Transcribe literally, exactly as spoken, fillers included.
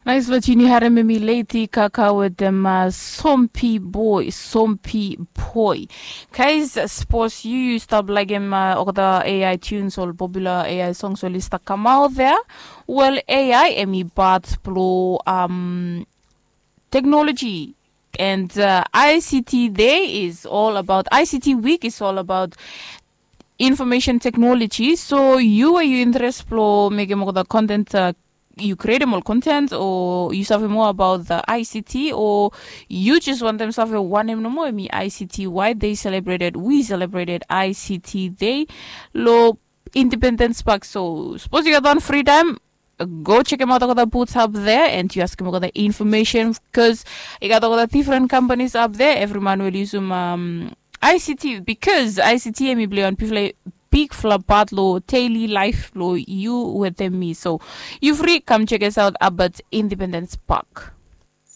Nais, bat yu ni harim em i leti kaka wetem sompi boy, sompi boy. Kais, sapos yu yu stap laikim olgeta ai tunes ol popular ai songs oli stap kamaot dea. Wel, ai em i bat blo teknoloji. And ict day is all about ict week is all about information technology. So yu we yu interes blo mekim olgeta content, yu krietim ol content o yu save moa abaot the ict o yu jes wantem save wanem nomo em i ict, why they celebrated, we celebrated ict day lo independence park. So sapos yu gat wan free time, go chekim aot olgeta boots up there and yu askim olgeta information, bikos i gat olgeta different companies up there, evri man we oli yusum ict, bikos ict em i plei wan bigfala bigfala pat lo daily life lo yu wetem mi. So yu fri kam check us out up at Independence Park.